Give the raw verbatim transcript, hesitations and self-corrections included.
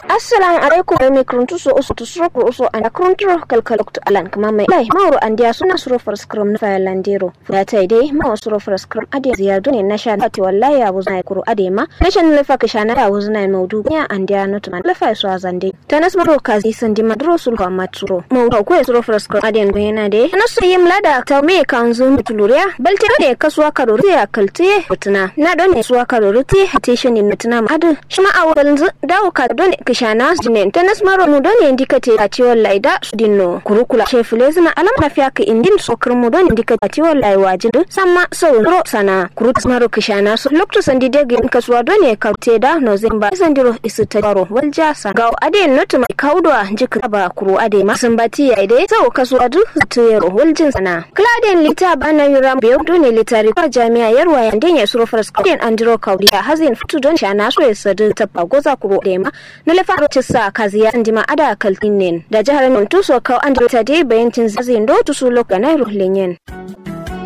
Assalamu alaikum. Mai kuruntu so uso tusuro kuru uso anda kurunturo kalkal loktu alan kǝma mai lai mauro andiya suna suro faraskram na faya landero. Fuyata dai mauro suro faraskram ade ziya done nasha lati wallahi ya wuzna ya kuru ade ma nasha na lafa kǝshana ya wuzna ya maudu ya andiya notuma lafa ya so azande. Tanas maro kazi sandi maduro sulhu amma suro maudu ko ya suro faraskram ade gonyena dai tanas so yim lada ta me kanzu mutuluriya balte done kasuwa karori ya kaltiye mutuna na done suwa karori tiye hate shani mutuna ma adu shima awo balnzu dawo ka done kǝshana jinen tanas maro mu done ndikate ati wallahi da sudinno kuru kula she fulezina alam lafiya kǝ indin so kǝrmu done ndikate ati wallahi wajin samma sau ro sana kuru tanas maro kǝshana so loktu sandi degin kasuwa done ka te da no zai ba sandiro isu ta baro walja sa gawo ade notu mai kaudo a njikka ba kuru ade ma sambati ya ide sau kasuwa du zatu yero waljin sana kǝla den lita bana yura beyo done litari kwa jami'a yarwa yande ya suro faraskram den andiro kaudiya hazin futu don shana so ya sadu tabba goza kuru ade ma na lefaro cissa kaziya andima ada kaltinen da jihar non tuso kau andiro ta dai bayancin zazin do tusu lok da nairo lenyen.